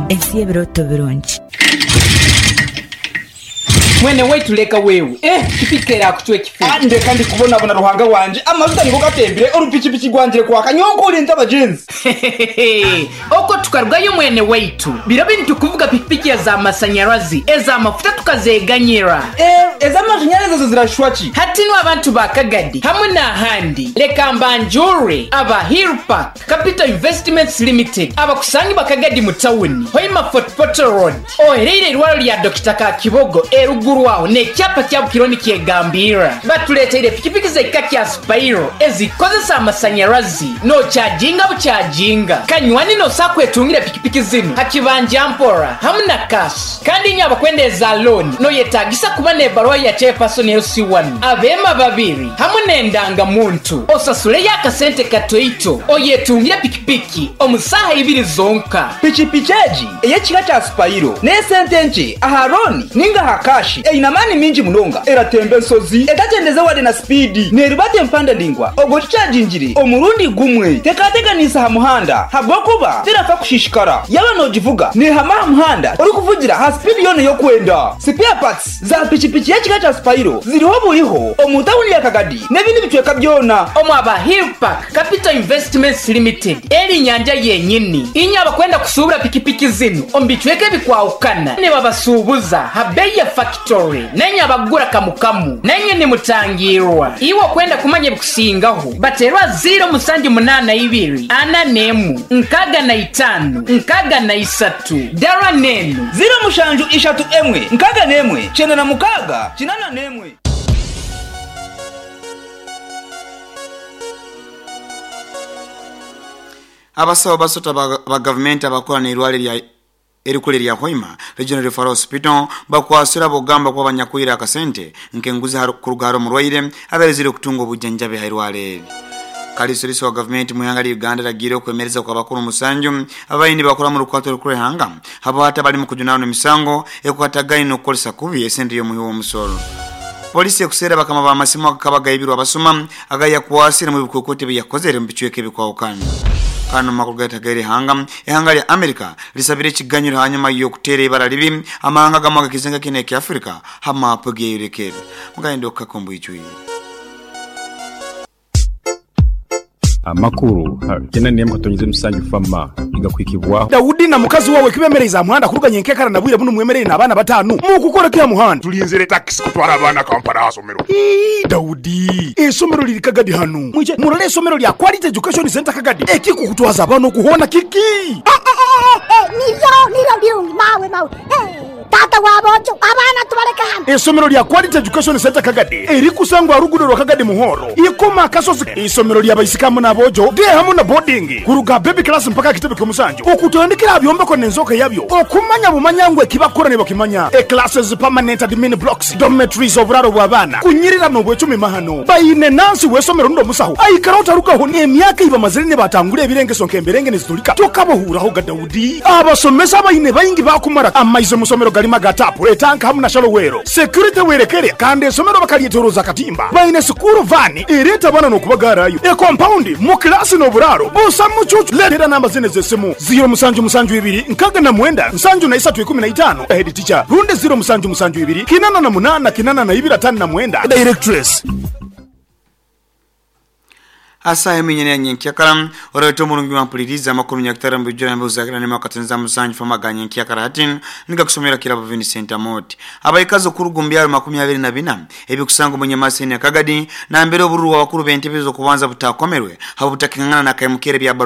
Ensi y'ebirooto birungi. Mwene waitu leka wewe, eh pikipiki erakucwa ekifuba. Ah, ndeka ndi kubonabona Ruhanga wangye, amajuta nigo gatembire, orupikipiki rwangire kwaka, nyowe nk'ori nta bagyenzi. Hehehehe, okwo tukarugayo mwene waitu, biro binu tukuvuga pikipiki ez'amasanyarazi, ez'amafuta tukazeganyira. Eh, ez'amashanyarazi ezo zirashusha ki? Hati nu abantu ba Kagadi hamwe n'ahandi, leka mbanjure aba Hill Park Capital Investments Limited abakusangibwa Kagadi mu tawuni, Hoima Fort Portal Road, ohereire eirwaro lya Dokita Kakibogo eruguru aho n'ekyapa kya Bukiro nikyegambirra. Batuleeteire pikipiki z'ekika kya Spiro ezikukozesa amasanyarazi n'okyajinga bukyajinga. Kanywani n'osobola kwetungira pikipiki zinu ha kibanja mpora hamu na cash. Kandi inywe abakwenda eza looni noyetagisa kuba n'ebaruha ya Chairperson LC1, abeema babiri hamu n'endangamuntu. Osasuleyo akasente katoito oyetungire pikipiki omu saaha ibiri zonka. Pikipiki egi ey'ekika kya Spiro n'esente nkye aha looni ninga aha kashi. Eine amaani mingi munonga, eratemba ensozi etakyendeze wadde na sipiidi, neerubata empanda ndaingwa obwo ogikyagingire omurundi gumwe. Tekateganiisa aha muhanda ahabw'okuba terafa kushishikara. Yaaba noogivuga neehama aha muhanda orikuvugira aha sipiidi yoona ei orikwenda. Spare parts za pikipiki y'ekika kya Spiro ziriho buriho omu tauni ya Kagadi n'ebindi bicweka byona. Omu aba Hill Park Capital Investments Limited eri nyanja yenyini. Inywe abakwenda kusuubura pikipiki zinu omu bicweka ebikwahukana nibabasuubuza ha beeyi ya fakitori, nainywe abakugura kamu kamu nainywe nimutangirwa. Iwe okwenda kumanya ebikusingaho bateerwa ziiro musanju munaana ibiri ana n'emu nkaaga na itaano nkaaga na isatu dara n'enu. Ziiro mushanju ishatu emwe nkaaga n'emwe kyenda na mukaaga kinaana n'emwe. Abasawo basatu aba gavumenti abakola n'eirwaliro lya erikuru erya Hoima Regional Referral Hospital bakwasirwe habw'okugamba kuba banyakwire akasente nk'enguzi kuruga ahari omurwaire abairezire kutunga obujjanjabi aha irwaro eri. Kalisoliso wa gavumenti mu ihanga lya Uganda aragiire okwemereza kw'abakuru musanju ababaire nibakora mu rukwato rukuru rw'ihanga habwahati abarimu kujunaanwa emisango ekwatagaine n'okukoresa kubi esente y'omuhi w'omusoro. Polisi ekuseera bakama b'amasimu agakaba gaibirwe abasuma agayakwasire mu bikwekweto ebi yakozere mu bicweka ebikwahukana. Kandi omu makuru gatagaire ihanga, ihanga lya America lisabire ekiganyiro hanyuma y'okuteera ibara ribi amahanga agamwe agakizenga kinu ekya Africa ha maapu egeyorekere. Mugayenda okukaka omu bwijwire. Amakuru ha kyenda n'emwe katonyeza omusanju fama nigakuhikibwaho. Daudi na mukazi wawe kibemereize aha muhanda kuruga nyenkekara na bwire bunu mwemereire n'abaana bataanu. Mukukora ki aha muhanda? Tulinzire takisi kutwara abaana Kampala aha somero. Ii, Daudi, eisomero liri Kagadi hanu. Mwije murole eisomero lya Quality Education Centre Kagadi. Ekikukutwaza abaana okuhoona kiki? Niryo, niryo birungi, mawe, mawe. Taata wa boojo, abaana tubaleke hano. Eisomero lya Quality Education Centre Kagadi erikusangwa aha ruguudo rwa Kagadi Muhoro, Ikoma Akasozi. Eisomero lya baisiki hamu n'aboojo, day hamu na boarding, kuruga baby class mpaka aha kitebe ky'omusanju. Okutandikira aha byombeko n'enzooka yabyo, okumanya bumanya ngu ekibakukora nibakimanya. E classes, permanent admin blocks, dormitories, oburaaro bw'abaana, kunyirira n'obwecumi mahano. Baine nansi w'eisomero rundi omusaho, aikaraho tarugaho n'emyaka ei bamazire nibatangura ebirengeso nk'emberenge nizitulika. Tokabahuuraho ga Daudi. Abasomesa abaine baingi baakumara. Amaizi omu somero garimu aga taapu, etanka hamu na shalowero. Security werekere kandi esomero bakaryetoroza akatimba. Baine sukuru vaani ereeta abaana n'okubagaarayo. E compound, mu kilaasi n'oburaaro busa mucuucu. Leetera namba zinu ez'esimu, ziiro musanju musanju ibiri nkaaga na mwenda nsanju na isatu ikumi na itaano, head teacher, rundi ziiro musanju musanju ibiri kinana na munaana kinana na ibiri ataano na mwenda, directress. Asaha eminyene ya nyenkyakara orete omurungi wampuliriza amakuru nyakitara mbijura mbuzagira nema katenza musanju fama ga nyenkyakara hati nikakusomera kirabo Vincent Amoti. Abaikazi okuruga omu byaro makumi abiri na bina ebikusanga omu Nyamaseni ya Kagadi nambere obururu bw'abakuru b'entebe z'okubanza butakomerwe habwo butakingana na kaimukere bya